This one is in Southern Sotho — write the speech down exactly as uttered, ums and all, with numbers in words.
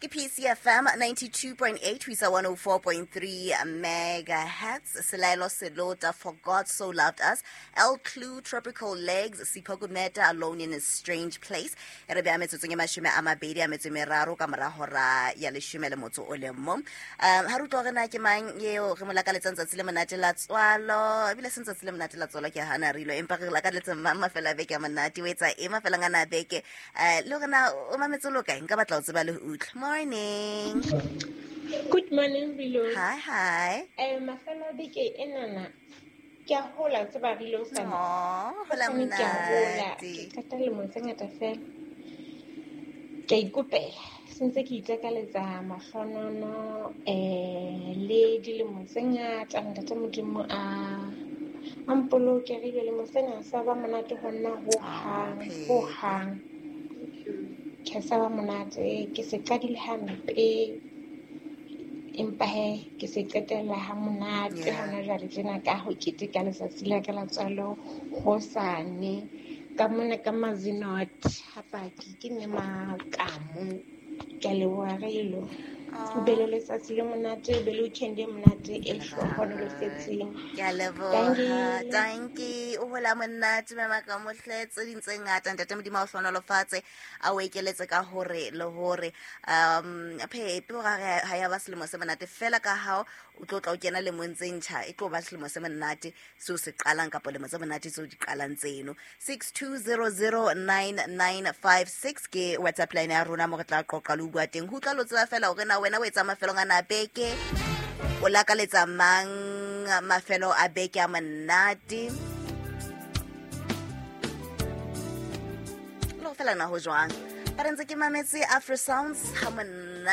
Ke P C F M ninety-two point eight ho isa one oh four point three megahertz. Selaelo Selota, For God So Loved Us. El Clue, Tropical Legs, Sipho Gumeta, Alone in a Strange Place. E re beha metsotsong e mashome a mabedi a metso e meraro ka mora hora ya leshome le motso o le mong. Um, ha re utlwa hore na ke mang eo re mo lakaletsang tsatsi le monate la tswalo, ebile se tsatsi le monate la tswalo ke hana re ilo, empa re lakaletse mang mafelo a beke a monate, o etsa eng mafelong ana a beke? Eh, le hore na o mametse lo kae? Nka batla ho tseba le ho utlwa. Morning. Good morning, Rilo. Hi, hi. Eh, mafelo a beke enana ke a hola, tseba Rilo sa. Aw, hola Ke a hola. monate. Ke qeta lemo tse ngata fela. Ke a ikopela. Sentse ke itakaletsa mahlonono, eh, le dilemo tse ngata, ntate Modimo a, a mpoloke re dilemo tsena sa ba monate ho nna ho hang, ho hang. Ke sa ba monate, ke se qadile hampe, empa he ke se qetella ha monate Yeah. hona jwale tjena ka ho keteka letsatsi la ka la tswalo hosane. Ka mona ka Mazinot, ha paki ke nne Makamo. Ke a leboha Rilo. O be le letsatsi le monate, o be le weekend e monate e hlohonolofetseng. Ke a leboha. Dankie. Dankie. O hola monate, mme Makamo hle, tse ding tse ngata, ntate Modimo a o hlohonolofatse, a o ekeletse ka hore le hore, um, Phepi, hore ha ha ya ba selemo se monate fela ka hao, o tlo tla o kena lemong tse ntjha, e tlo ba selemo se monate seo se qalang kapa lemo tse monate tseo di qalang tseno. six two zero zero nine nine five six ke WhatsApp line ya rona mo re tla qoqa le ho bua teng. Ho utlwa lo tseba fela hore na wena o etsa mafelong ana a beke, o lakaletsa mang mafelo a beke a monate. Le ho fela na ho jwang? Ba re ntse ke mametse Afro Sounds ha monate.